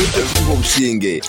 Ekituha obusinge.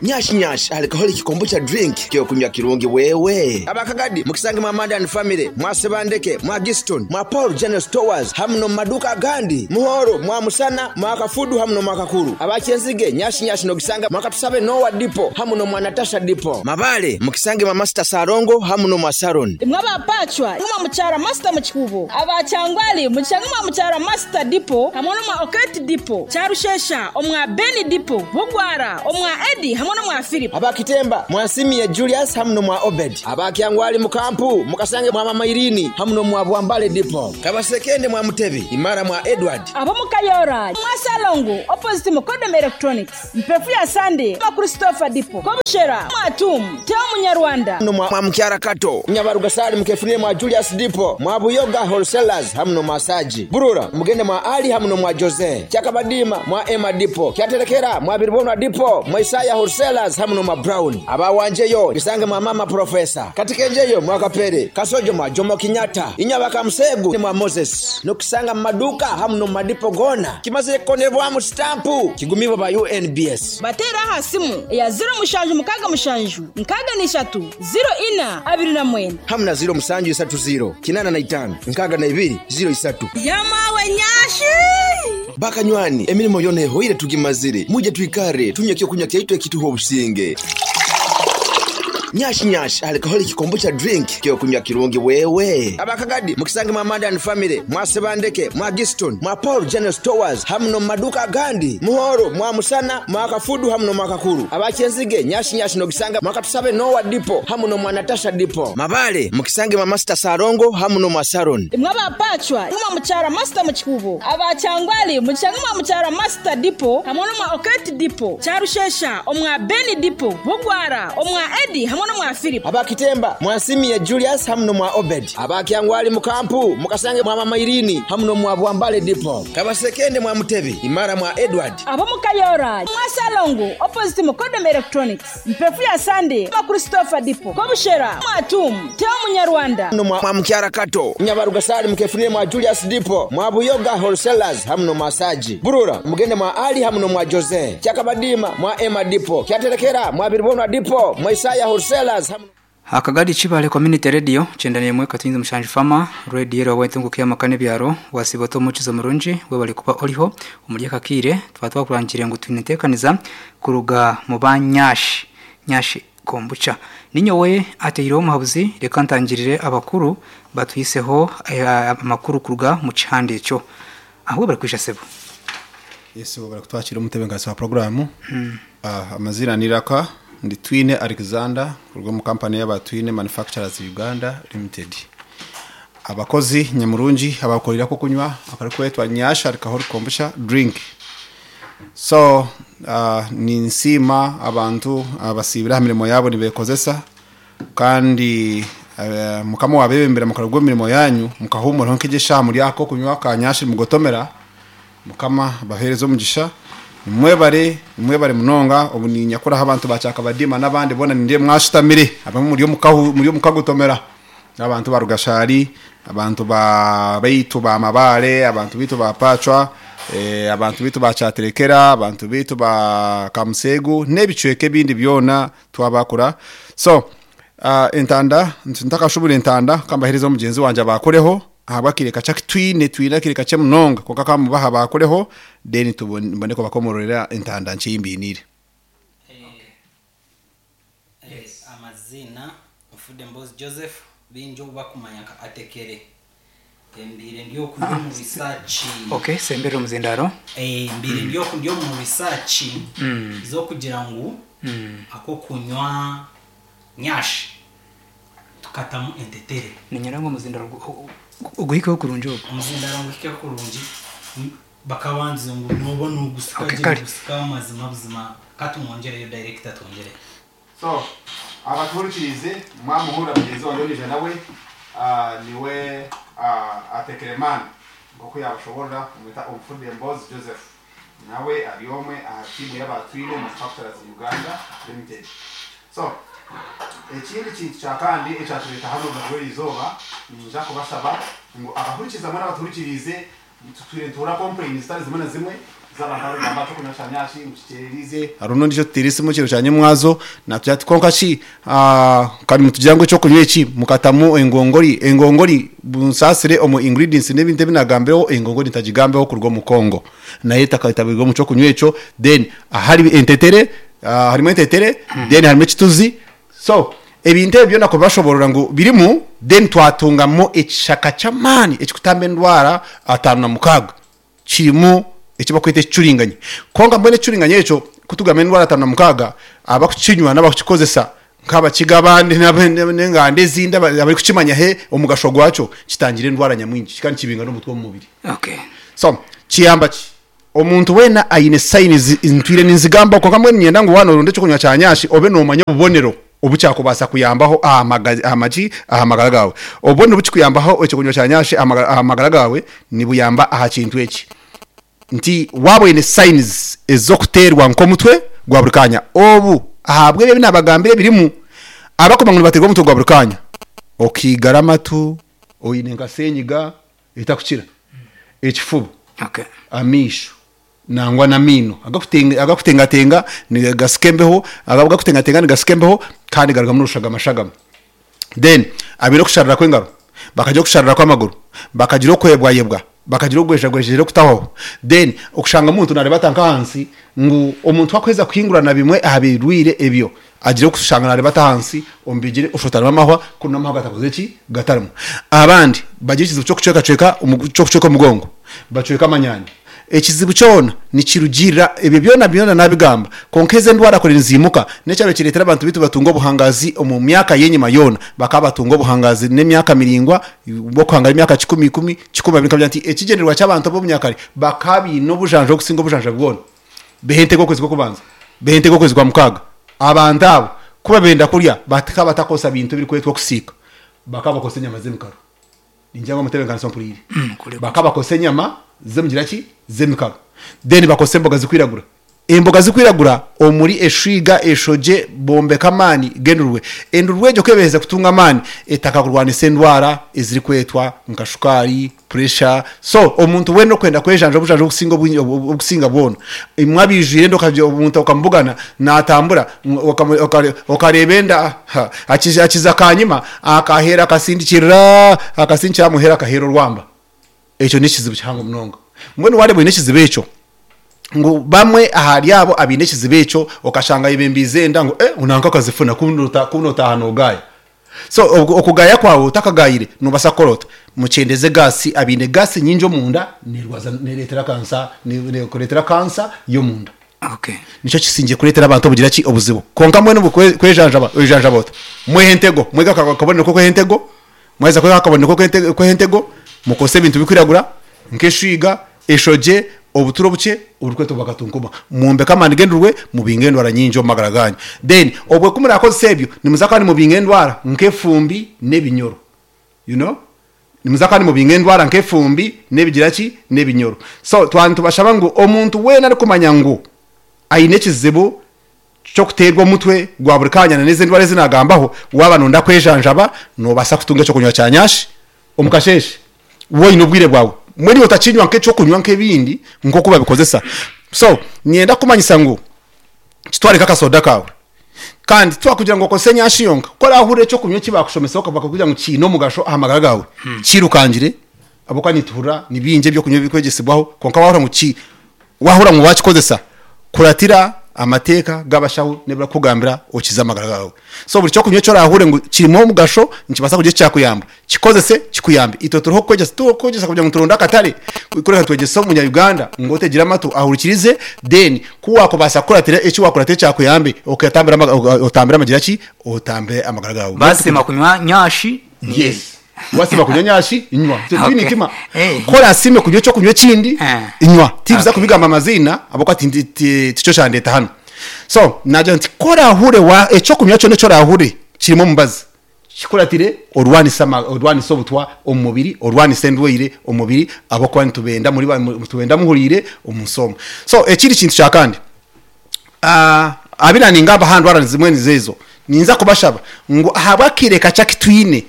Nyash nyash alcoholic kombucha drink kyokunywa kirungi wewe. Abakagadi mukisange mwa Amanda and family, mwa Ssebandeke, mwa Giston, mwa Paul General Stores hamu nomu maduuka agandi, Muhoro, mwa Musana, mwa Kafudu hamu nomwa Kakuru. Aba Kyenzige, Nyash nyash nogisanga mwa Katusabe Noah Depot hamu nomwa Natasha Depot. Mabale mukisange mwa Master Salongo hamu nomwa Saron. Imwe aba Pacwa imwe mwa Mukyara Master mu Kikuubo, aba Kyangwali mukishange mwa Mukyara Master Depot hamwe n'omwa Oketi Depot, Kyarushesha omwa Ben Depot, Bugwara omwa Eddie hamwe n'omwa Philip. Aba Kitemba mwa Nsimie Julius hamu n'omwa Obed. Aba Kyangwali mu Kampu mukasange mwa Mama Irene hamu n'omwa Bwambale Depot. Kabasekende mwa Mutebi, Imara mwa Edward. Ab'omu Kayora mwa Ssalongo opposite Mukodom Electronics. Mpefu ya Sande mwa Christopher Dipo, Kobushera mwa Tum, Theo Munyarwanda. Mwa Mukyara Kato, Nyabarugasali mukefunire mwa Julius Dipo, mwa Buyoga Wholesalers hamu n'omwa Saji. Burura mugende mwa Ali hamu n'omwa Jose. Kyakabadiima mwa Emma Dipo, Kyaterekera mwa Biribonwa Dipo, mwa Isaya Wholesalers hamu n'omwa Brown. Aba Wanjeyo bisange mwa Mama Professor. Katikenjeyo mwa Kapere, Kasojo mwa Jomo Kenyatta, Inyabaka Musegu mwa Moses. Nokusanga mu maduuka hamu n'omu madipo goona. Kimazire kukonebwamu sitampu kigumibwa ba UNBS. Bateere aha simu eya 0767 63 04 29. Hamu na 0730 85 62 03. Yamawe nyashi! Bakanywani, emirimo yona ehoire tugimazire. Muje twikare tunywe ekyokunywa kyaitu ekituha obusinge. Nyash nyash alcoholic kombucha drink kyokunywa kirungi wewe. Abakagadi mukisange mwa Amanda and family, mwa Ssebandeke, mwa Giston, mwa Paul General Stores hamu n'omu maduuka agandi. Muhoro, mwa Musana, mwa Kafudu hamu n'omwa Kakuru. Aba Kyenzige nyash nyash nogisanga mwa Katusabe Noah Depot hamu n'omwa Natasha Depot. Mabale mukisange mwa Master Salongo hamu n'omwa Saron. Imwe aba Pacwa imwe mwa Mukyara Master mu Kikuubo, aba Kyangwali mukishange mwa Mukyara Master Depot hamwe n'omwa Oketi Depot, Kyarushesha omwa Ben Depot, Bugwara omwa Eddie hamwe n'omwa Philip. Aba Kitemba mwa Nsimie Julius hamu n'omwa Obed. Aba Kyangwali mu Kampu mukasange mwa Mama Irene hamu n'omwa Bwambale Depot. Kabasekende mwa Mutebi, Imara mwa Edward. Ab'omu Kayora mwa Ssalongo opposite Mukodom Electronics, Mpefu ya Sande mwa Christopher Depot, Kobushera mwa Tum, Theo Munyarwanda. Mwa Mukyara Kato, Nyabarugasali mukefunire mwa Julius Depot, mwa Buyoga Wholesalers hamu n'omwa Saji. Burura mugende mwa Ali hamu n'omwa Jose. Kyakabadiima mwa Emma Depot, Kyaterekera mwa Biribonwa Depot, mwa Isaya Wholesalers hamu Akagadi Kibale Community Radio kyenda n'emwe Katinzi Mushanju Fama Radio era wawentunguka y'amaka n'ebyaro wasiba ota omukizo murungi webale kuba oriho omuri aka kaire twaba twakurangire ngu twine enteekaniza kuruga mu ba Nyashi Nyashi Kombucha ninyowe ateireho omuhabuzi reka ntangirire abakuru batuhiseho amakuru kuruga mu kihanda ekyo ahu bari kwisha sebo. Yesu bari kutwakira omutebeekanisa wa puroguraamu. Amazina ni Raka, ndi Twine Alexander kuruga omu kampani y'aba Twine Manufacturers Uganda Limited. Abakozi nyamurungi abakorera kunywa akarikwetwa Nyash Alcoholic Kombucha Drink. So ninsiima abantu abasiibire aha mirimo yaabo nibeekozesa kandi mukama wabebembera mukara gw'emirimo yanyu mukahumuraho nk'egyeshaaha muri ako kunywa ka Nyash mugotomera mukama abaheereze omugisha. Nimwebare, nimwebare munonga. Obu ninyakuraho abantu ba Kyakabadiima n'abandi boona nindeeba mwashutamire abamwe muri omu muri omu kagotomera abantu ba Rugashari, abantu ba baitu ba Mabare, abantu baitu ba Pacwa, abantu baitu ba Kyaterekera, abantu baitu ba Kamusegu n'ebicweka ebindi byona twabakura. So entanda ntakashubura entanda kambahereza omugyenzi wangye abakureho ahabw'akaire kakye aku twine twine akaire kakye munonga kwonka kamubaha bakureho then tubone kubakomororera entanda nkye ei mbainiire. Amaziina Nfudde Mbozi Joseph baingi obu bakumanya nka Atekere. Mbaire ndi oku ndi omu research. Okay, semberera omuzindaaro. Mbaire ndi oku ndi omu research z'okugira ngu ak'okunywa nyash tukatamu entetere. Niinyenda ngu omuzindaaro oguhikeho kurungi ogu. Omuzindaaro nguhikeho kurungi. Bakabandize ngu nooba noogusika Okay, gye kare. noogusika amazima buzima katumwongyereyo director twongyereyo. So abatuhurikiriize mwamuhurira mugyenzi wangye ondiijo nawe niwe Atekere Man nk'oku yaabashoboorora bamweta Omufudde Mbozi Joseph nawe ari omwe aha tiimu y'aba Twine Manufacturers Uganda Limited. So ekindi kintu kya kandi ekyatureeta hanu orunaku rw'erizooba niinyija kubashaba ngu abahurikiza mbwenu abatuhurikiriize tutwire nituhurira complains zitari zimwe na zimwe. Z'abantu abarikugamba ati okunywa kyanyashi ngu kikyererize hariho n'ondiijo otuteire esimu ekiro kya nyemwazo naatugira ati kwonka shi ka nimutugira ngu eky'okunywa eki mukatamu engongori, engongori munsaasire omu ingredients n'ebintu ebi naagambireho engongori ntagigambeho kuruga omu Congo nayo etakatabirwe omu ky'okunywa ekyo then ahari entetere harimu entetere then harimu ekituzi so ebintu ebi byona kubashoboorora ngu birimu then twatungamu ekishaka ky'amaani ekikutamba endwara 56. Kirimu eki barikweta ekicuringanyi. Kwonka mbwenu ekicuringanyi ekyo ku tugamba endwara 56, abarikukinywa n'abarikukikozesa nk'abakiga abandi n'enganda ezindi abarikukimanya he omugasho gwakyo, kitangira endwara nyamwingi kandi kibinga n'obutwa omu mubiri. So, kiyamba ki? Omuntu weena aine signs ntwire ninzigambaho kwonka mbwenu niinyenda ngu waaba nooronda eky'okunywa kya nyashi obe noomanya obubonero obu kyakubaasa kuyambaho aha magi aha magara gaawe. Obubonero obu kikuyambaho eky'okunywa kya nyashi aha magara gaawe nibuyamba aha kintu eki nti waaba oine signs ez'okuteerwa nk'omutwe gwa buri kaanya obu ahabw'ebi ebi naabagambira ebirimu abakumanya ngu nibateerwa omutwe gwa buri kaanya okaigara amatu oine nka senyiga etakukira, ekifuba, amaisho nangwa n'amaino agakutengatenga nigasika embeho, agakutengatenga nigasika embeho kandi garugamu n'orushagama-shagama. Then abaine okusharira kw'engaro, bakagira okusharira kw'amaguru, bakagira okwebwayebwa, bakagira okugwejagwejegyera okutahwaho. Then okushanga omuntu naareeba ata nk'ahansi ngu omuntu ku arikuheza kuhingurana bimwe aha birwaire ebyo, agira okushanga naareeba ata ahansi omu bigyere oshotarimu amahwa kunu amahwa gatakozire ki? Gatarimu. Abandi bagira ekizibu ky'okucwekacweka ky'okucweka omugongo, bacweka amanyaanya. Ekizibu kyona nikirugiirira ebyo byona byona naabigamba, kwonka ezi endwara kuri niziimuka, n'ekyaba kireetera abantu baitu batunga obuhangaazi omu myaka y'enyima yoona, bakaba batunga obuhangaazi n'emyaka miraingwa bw'okuhangara emyaka kikumi ikumi, kikumi abiri nkagira nti ekigyendererwa ky'abantu ab'obunyakare bakaba baine obujanja obukusinga obujanja bwona. Behentega okwezi kw'okubanza, behentega okwezi kwa mukaaga. Abantu abo ku babenda kurya bakaba batakozesa bintu ebirikwetwa okusiika, bakaba bakozesa enyama z'emikaro. Ningira ngu omutebeekanisa ompuriire. Bakaba bakozesa enyama z'omugira ki? Z'emikaro. Then bakozesa emboga zirikwiragura. Emboga zirikwiragura omuri eshwiga, eshogye, bombeka amaani g'endurwe. Endurwe egyo ku ebaherize kutunga amaani, etandika kurwanisa endwara ezirikwetwa nka shukaari, puresha. So omuntu weena orikwenda kwejanja obujanja obukusinga obwingi obukusinga bwona, imwe abaijwire enda okagira omuntu okamubugana naatambura okareeba enda ha akiza akanyima akaheera akasindikirira akasindikira aha muheru akaheera orwamba. Ekyo n'ekizibu kihango munonga. Mbwenu waareeba oine ekizibu ekyo, ngu bamwe ahari abo abaine ekizibu ekyo okashanga ayebembiize enda ngu eh nanka akazifuna ku nootaaha noogaaya. So okugaya kwawe otakagayire nobasa kukora ota? Mukyendeze gaasi, abaine gaasi nyingi omunda nerwaza neretera kansa nekuretera kansa yomunda. Okay. Nikyo kisingye kuretera abantu obugira ki obuzibu. Kwonka mbwenu obu kwejanjaba oyejanjaba ota? Mwehe entego, mwege akabonero kokweha entego, mwaheza kweha akabonero kokweha entego, mukozese ebintu bikwiragura nk'eshwiga, eshogye, obuturo obukye oburikwetwa bwakatunkuma. Mwombeke amaani g'endurwe, mubinge endwara nyingi omu magara gaanyu. Then obwo ku muraakozesa ebyo, nimuza kuba nimubinga endwara nk'efumbi n'ebinyoro. You know? Nimuza kuba nimubinga endwara nk'efumbi n'ebigira ki? N'ebinyoro. So twaba nitubashaba ngu omuntu weena arikumanya ngu aine ekizibu ky'okuteerwa omutwe gwa buri kaanya na n'ezi endwara ezi naagambaho, waaba nooyenda kwejanjaba, noobaasa kutunga eky'okunywa kya nyashi omu kasheeshe waaba oine obwire bwawe. Mbwenu iwe otakinywa nk'eky'okunywa nk'ebindi nk'oku babikozesa. So, niinyenda kukumanyisa ngu kitware nk'akasoda kaawe. Kandi titwakugira ngu okozese nyashi yonka. Ku oraahurira eky'okunywa eki baakushomesaho bakakugira ngu kiine omugasho aha magara gaawe, kiirukangire ahabw'okuba nituhurira ni bingi eby'okunywa ebirikwegyesibwaho kwonka waahurira ngu ki Waahurira ngu waakikozesa, kuratira amateeka g'abashaho n'ebi barikukugambira okize amagara gaawe. So buri ky'okunywa eki oraahure ngu kirimu omugasho, nikibaasa kugira eki kyakuyamba, kikozese kikuyambe. Itwe turiho kukwegyesa, tituriho kukwegyesa kugira ngu turonde akatare, kureka nitwegyesa omunya-Uganda ngu otegire amatu ahurikirize, then ku waakubaasa kukuratira eki waakuratira ekyakuyambe, okatambira otambire amagira ki? Otambire amagara gaawe. Baasiima kunywa nyashi ni Yes. Wasiima kunywa nyashi, nywa. Itwe twine Okay. eitima. Eh. Ku oraasiime kunywa eky'okunywa ekindi, Eh. nywa. Tindiza Okay. kubigamba amaziina ahabw'okuba tindi ti- tikyo kyandeeta hanu. So, naagira nti ku oraahure wa eky'okunywa kyona eki oraahure kirimu omubazi, kikuratire orwanise ama orwanise obutwa omu mubiri, orwanise endwaire omu mubiri ahabw'okuba nitubenda muri ba nitubenda muhuriire omu nsi omu. So, ekindi kintu kya kandi, Abu naaningamba aha ndwara zimwe nizo ezo, ninza kubashaba ngu ahabw'akaire kakye aku twine,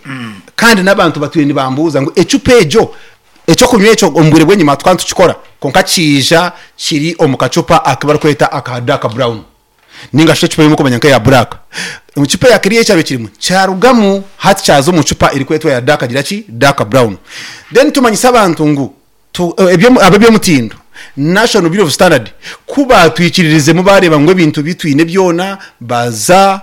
kandi n'abantu batwire nibambuuza ngu ecupa egyo Ekyokunywa ekyo omu bwire bw'enyima tukaba nitukikora kwonka kiija kiri omu kacupa aku barikweta aka dark brown ninga shi ecupa ei murikumanya nk'eya black. Ecupa eya kiriya ekyabaire kirimu kyarugamu hati kyaza omu cupa erikwetwa eya dark gira ki? Dark brown. Then tumanyise abantu ngu ab'eby'omutindo, National Bureau of Standard, ku baatwikiririzemu baareeba ngu ebintu bi twine byona baaza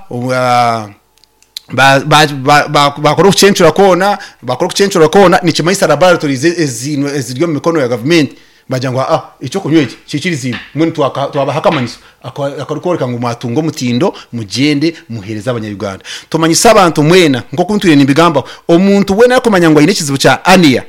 Baakora okucencura kwona, baakora okucencura kwona, nikimanyisa laboratories eziinwe eziri omu mikono ya gavumenti baagira ngu aa eky'okunywa eki kiikiriziibwe, mbwenu twabaha akamanyiso akarikworeka ngu mwatunga omutindo mugyende muheereze Abanya-Uganda. Tumanyise abantu mwena nk'oku ntwire nimbigambaho, omuntu weena arikumanya ngu aine ekizibu kya aniya,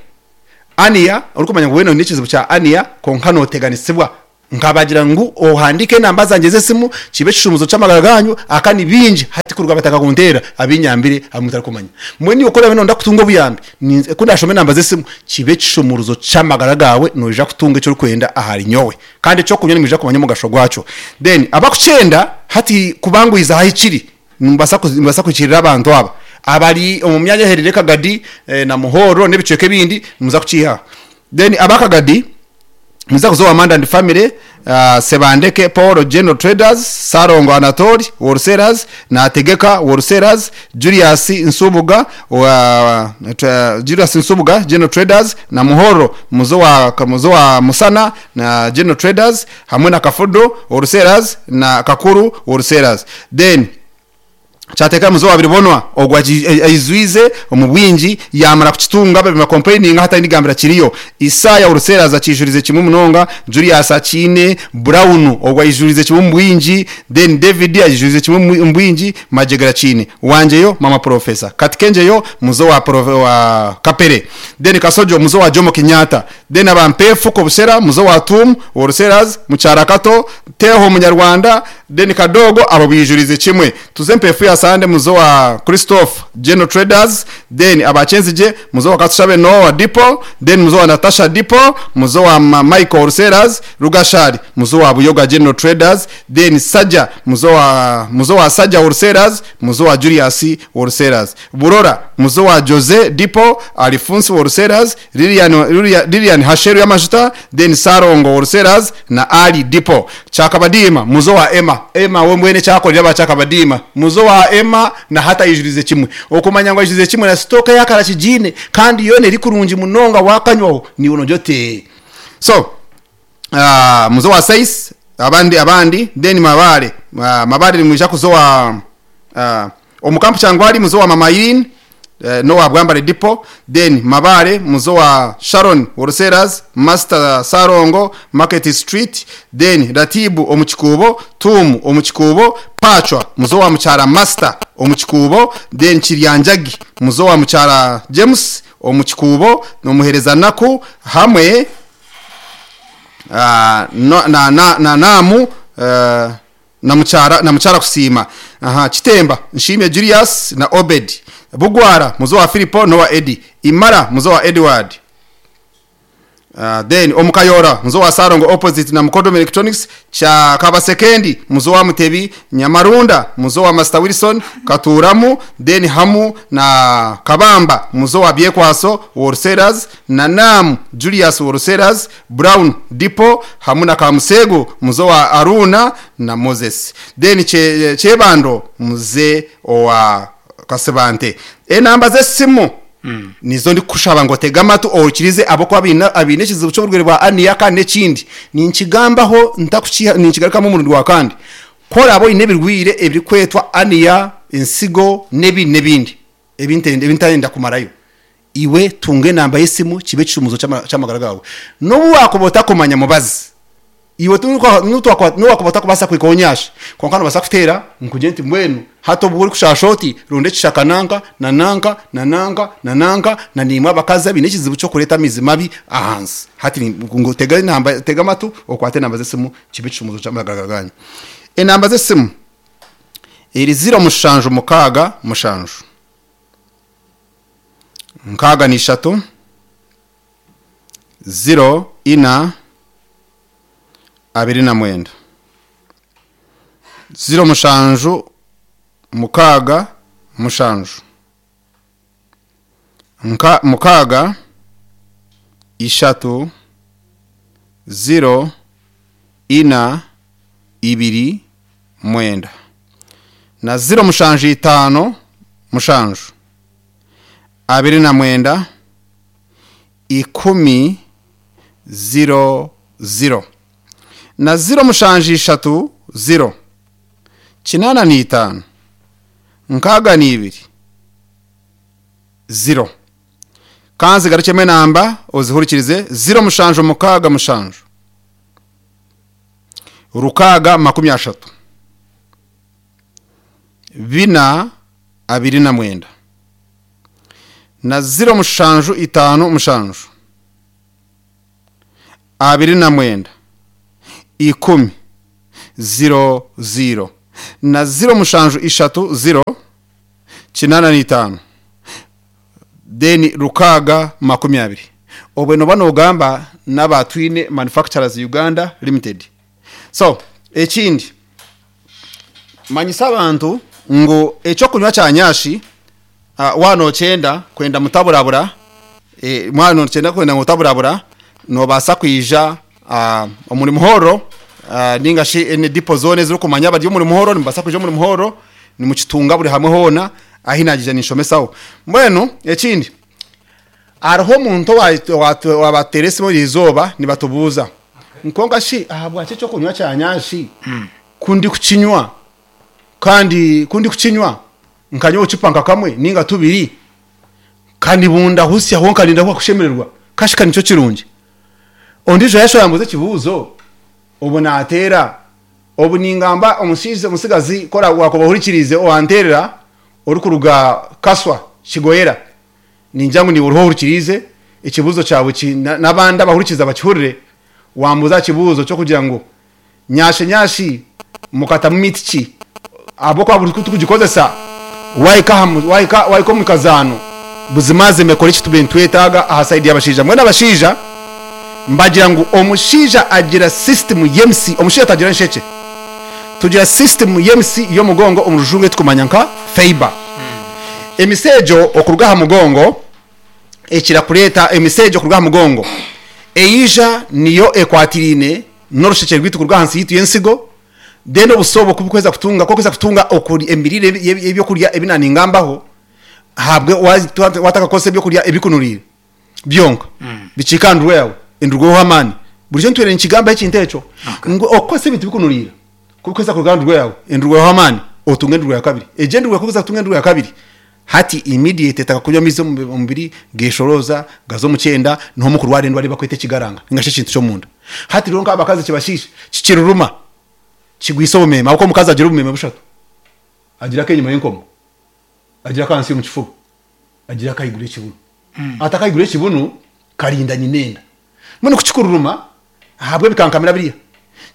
aniya, orikumanya ngu weena oine ekizibu kya aniya kwonka nooteganisibwa Nkabagira ngu ohandiike enamba zangye z'esimu, kibe ekishumuzo ky'amagara ganyu, aka ni bingi hati kuruga bataka kunteera abinyambire abu mutarikumanya. Mbwenu iwe ku oraabe noyenda kutunga obuyambi, ninza ku ndashome enamba z'esimu, kibe ekishumuruzo ky'amagara gaawe, noija kutunga eki orikwenda ahari nyowe. Kandi eky'okunywa nimwija kumanya omugasho gwakyo. Then abakukyenda hati kubanguhiza ahahikiri, nimubaasa nimubaasa kuhikirira abantu aba abari omu myanya ehereire Kagadi na Muhorro n'ebicweka ebindi, nimuza kukiiha aha. Then aba Kagadi, Nimuza kuza owa Manda and Family, Sebandeke Paul General Traders, Ssalongo Anatoli Wholesalers, Nategeka Wholesalers, Julius Nsubuga wa Julius Nsubuga General Traders na Muhoro muze owa muze owa Musana na General Traders hamwe na Kafudu Wholesalers na Kakuru Wholesalers. Then Kyateeka muze owa Biribonwa ogwo aizwize omu bwingi yaamara kukitunga babe nibakompureyininga hatari nigambira kiriyo. Isaaya Wholesalers akiijurize kimwe munonga, Julius akiine, Brown ogwo aijurize kimwe omu bwingi, then David aijurize kimwe omu bwingi, Magyegera akiine. Wangyeyo Mama Professor. Katikengyeyo muze owa owa Kapere. Then Kasojo muze owa Jomo Kenyatta. Then aba Mpeefu Kobushera muze owa Tuum Wholesalers, Mukyara Kato, Teho Munyarwanda, Then Kadogo abo baijurize kimwe. Tuze Mpeefu ya Sande muze owa Christophe General Traders, then aba Kyenzigye muze owa Katushabe Noah Depot, then muze owa Natasha Depot, muze owa Michael Wholesalers, Rugashari muze owa Buyoga General Traders, then Saja muze owa muze owa Saja Wholesalers, muze owa Julius Wholesalers, Burora muze owa Jose Depot, Alifunsi Wholesalers, Lilian, Lilian Hasheru y'amajuta, then Sarongo Wholesalers na Ali Depot. Kyakabadiima muzo wa Emma. Emma we mbwenu ekyakorire aba Kyakabadiima. Muzo wa Emma na hati aijurize kimwe. Okumanya ngu aijurize kimwe na sitoka eyakara akigiine kandi yoona eri kurungi munonga wakanywaho niiwe nogira oti so muzo wa Sais abandi abandi then Mabare Mabare nimwija kuza owa Omu kampu Kyangwali muze owa Mama Irene n'owa Bwambare Depot, then Mabare muze owa Sharon Wholesalers, Master Ssalongo, Market Street, then Ratibu omu Kikuubo, Tuumu omu Kikuubo, Pacwa muze owa Mukyara Master omu Kikuubo, then Kiryanjagi muze owa Mukyara James omu Kikuubo, n'omuhereza Naku hamwe na na Naamu. Na mukyara na mukyara Kusiima. Aha, Kitemba, Nshimye Julius na Obed. Bugwara, muze owa Filipo n'owa Eddy. Imara, muze owa Edward. Then omu Kayora, muze owa Sarongo opposite na Mukodomi Electronics, Kya Kabasekendi, muze owa Mutebi, Nyamarunda, muze owa Master Wilson, Katuuramu, then hamu na Kabamba, muze owa Byekwaso Wholesalers, na Naamu Julius Wholesalers, Brown Depot, hamu na Kamuseegu muze owa Aruuna na Moses. Then Kyebando muze owa Kasibante. Enamba z'esimu nizo ndikukushaba ngu otege amatu ohurikirize ahabw'okuba abaine abaine ekizibu ky'oburwaire bwa aniya kandi n'ekindi ninkigambaho ntakukiha ninkigarukamu omurundi gwa kandi. Ku oraabe oine ebirwaire ebirikwetwa aniya, ensigo n'ebindi n'ebindi ebi ntarikwenda kumarayo, iwe tunga enamba y'esimu kibe ekishumuuzo ky'amagara gaawe. N'obu waakuba otakumanya mubazi, iwe n'obu waakuba otakubaasa kuhika onyasha, kwonka noobaasa kuteera nkugire nti mbwenu hati obu orikushaasha oti, ronda ekishaka nanka na nanka na nanka na nanka na naimwe abakazi abaine ekizibu ky'okureeta amaizi mabi ahansi. Hati ngu tega enamba, tega amatu okwate enamba z'esimu kibe ekishumuuzo ky'amagara gaanyu. Enamba z'esimu eri ziro mushanju mukaaga mushanju. 63 0 ina 29 0 7 6 7 nka 6 ishatu, ziro, ina, ibiri, mwenda. Na ziro mushanju itaano mushanju, 29, 10, 0, 0. Na ziro mushanju ishatu, 0, 85, 62, 0. Kanzi garukyemu enamba ozihurikirize 0 mushanju mukaaga mushanju rukaaga 30 4 29 na 0 mushanju 5 mushanju 29 10 0 0 na 0 mushanju 3 0 85 deni rukaaga 20. Obwe noba nogamba n'abatwine Manufacturers Uganda Limited. So ekindi, manyisa abantu ngu ekyokunywa kya nyashi, wano okyenda kwenda mutaburabura, mwana okyenda kwenda mutaburabura, nobaasa kwija omuri muhoro, ninga shi ene dipo zone ezirikumanya bari omuri muhoro, nimubaasa kwija omuri muhoro nimukitunga buri hamwe hoona ahi nagija ninshomesaho. Mbwenu ekindi, hariho omuntu wabateera esimu eriizooba nibatubuuza nkonka shi ahabwaki ekyokunywa kya nyashi kundi kukinywa, kandi kundi kukinywa nkanywa obucupa nka kamwe ninga tubiri kandi bunda husya ho nkarinda kushemererwa kashika nicyo kirungi. Ondijo yasho yambuze ekibuuzo obu nateera obu ningamba omushiija omusigazi kora wakobahurikirize owanterera orikuruga Kaswa Kigoyera, ningira ngu niwe oriho ohurikirize ekibuuzo kyawe n'abandi abahurikiza bakihurire. Wambuza ekibuuzo kyokugira ngu nyashe nyashi mukatamu miti ki ahabw'okuba buri kutukugikozesa wahika wahika omu kazaano buzimazima ekora eki tube nitwetaaga aha sayidi y'abashaija. Mbwenu abashaija mbagira ngu omushaija agira system y'emisi, omushaija tagira nshekye, tugira system y'emisi y'omugongo omu rujungu etukumanya nka fiber. Emisi egyo okuruga aha mugongo ekira kureeta emisi egyo okuruga aha mugongo eija niyo ekwatiraine n'orushekye rwaitu kuruga ahansi yaitu y'ensigo. Then obuso obwo kubukweza kutunga kokuza kutunga emirire y'ebyokurya ebi naningambaho ahabwe watakakozesa ebyokurya ebikunuriire byonka bikiika aha ndurwe yawe endurwe eho amaani. Burijo ntwire nikigambaho ekintu ekyo ngu okukozesa ebintu bikunuriira kubikozesa kuruga aha ndurwe yawe endurwe eho amaani otunga endurwe ya kabiri. Egyo endurwe kuza kutunga endurwe ya kabiri hati immediate etaka kunywa amaizi omu mubiri geshorooza gaza omu kyenda niho mukurwara endwara ei bakweta ekigaranga ninga shi ekintu ky'omunda. Hati rero nk'abakazi kibashiisha kikiruruma kigwisa obumeme ahabw'okuba omukazi agira obumeme bushatu, agira ak'enyima y'enkomo, agira ak'ahansi y'omu kifuba, agira ak'ahaiguru y'ekibunu. Hati ak'ahaiguru y'ekibunu karinda nyina enda. Mbwenu ku kikururuma ahabw'ebikankamira biriya,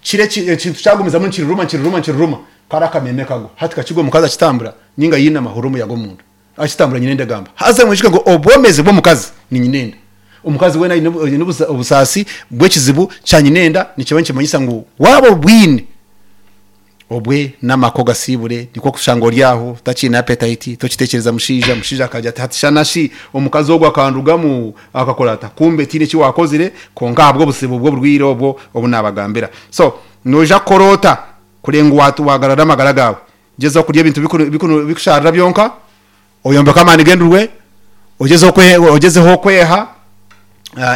kiro ekintu kyagumizamu nikiruruma nikiruruma nikiruruma kari akameme kagwa. Hati kakigwa omukazi akitambura ninga yinama ahurira omuyaga omunda akitambura nyina enda egamba. Haza mwijuke ngu obwomezi bw'omukazi ni nyina enda. Omukazi weena aine obusaasi bw'ekizibu kya nyina enda nikiba nikimanyisa ngu waaba obwine obwe n'amaka ogasiibure, nikwo kushanga ori aho otakiine appetite, tokitekyereza mushaija, mushaija akagira ati hati shana shi omukazi ogu akandugamu akakora ata, kumbe tihaine eki waakozire kwonka ahabw'obuzibu bw'oburwaire obwo obu naabagambira. So noija kukora ota kureba ngu waagarura amagara gaawe? Gyezaho kurya ebintu bikushaarira byonka, oyombeke amaani g'endurwe, ogyezeho kweha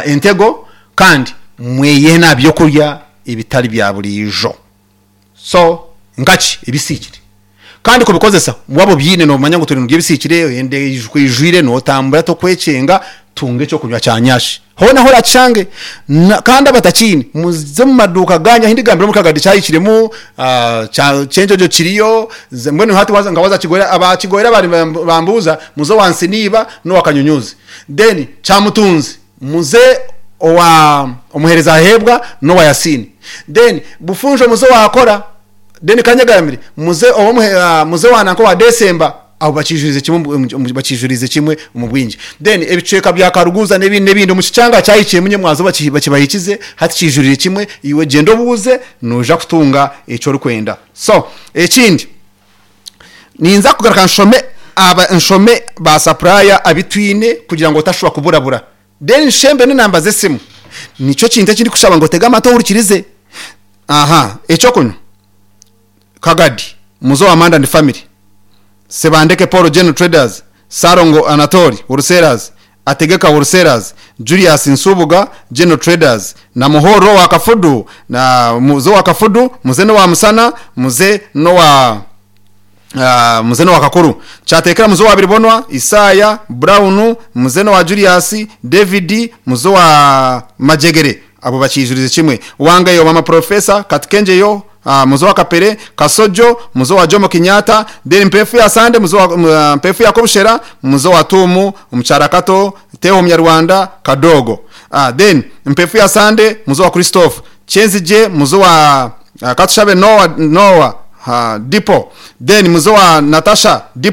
entego kandi mweyehene aha byokurya ebitari bya buriijo. So nkaki ebisiikire kandi kubikozesa waaba obiine noomanya ngu turi nirya ebisiikire, enda ekwijwire nootambura tokwekyenga, tunga ekyokunywa kya nyashi hoona ahu oraakishange. Kandi abatakiine muze omu maduuka gaanyu ahu ndigambira omuri Kagadi kyahikiremu, Kyenjojo kiriyo, mbwenu hati waaza nka waaza Kigoyera, aba Kigoyera baabaire nibambuuza muze owa Nsiniiba n'owa Kanyunyuuzi. Then Kyamutunzi muze owa Omuheereza Aheebwa n'owa Yasiini. Then Bufunjo muze owa Akora. Then Kanyegambire muze owa muze owa nanka owa Desemba. Abo bakiijurize kimwe bakiijurize kimwe omu bwingi. Then ebicweka bya Karuguza n'ebindi n'ebindi omu kikyanga kyahikiremu nyemwazo bakibahikize hati kiijurire kimwe iwe gyenda obuuze noija kutunga eki orikwenda. So ekindi ninza kugaruka nshome aba nshome ba supplier abu twine kugira ngu otashuba kuburabura. Then nshembe n'enamba z'esimu. Nikyo kintu eki ndikushaba ngu otege amatu ohurikirize. Aha, eky'okunywa, Kagadi, Muzo wa Manda and Family, Sebandeke Paul General Traders, Ssalongo Anatoli Wholesalers, Ategeka Wholesalers, Julius Nsubuga General Traders, na Muhorro owa Kafudu, na Muze owa Kafudu, Muze n'owa Musana, Muze n'owa Muze n'owa Kakuru. Kyateekera Muze owa Biribonwa, Isaaya, Brown, Muze n'owa Julius, David, Muze owa Majegere. Abo bakiijurize kimwe. Wangayo Mama Professor, Katikengyeyo, Muze owa Kapere, Kasojo, Muze owa Jomo Kenyatta, then Mpeefu ya Sande, Muze owa Mpeefu ya Kobushera, Muze owa Tuumu, Omukyara Kato, Teho Omunyarwanda, Kadogo. Then Mpeefu ya Sande, Muze owa Christophe, Kyenzigye, Muze owa Katushabe Noah, Noah, Dipo, then Muze owa Natasha, Dipo.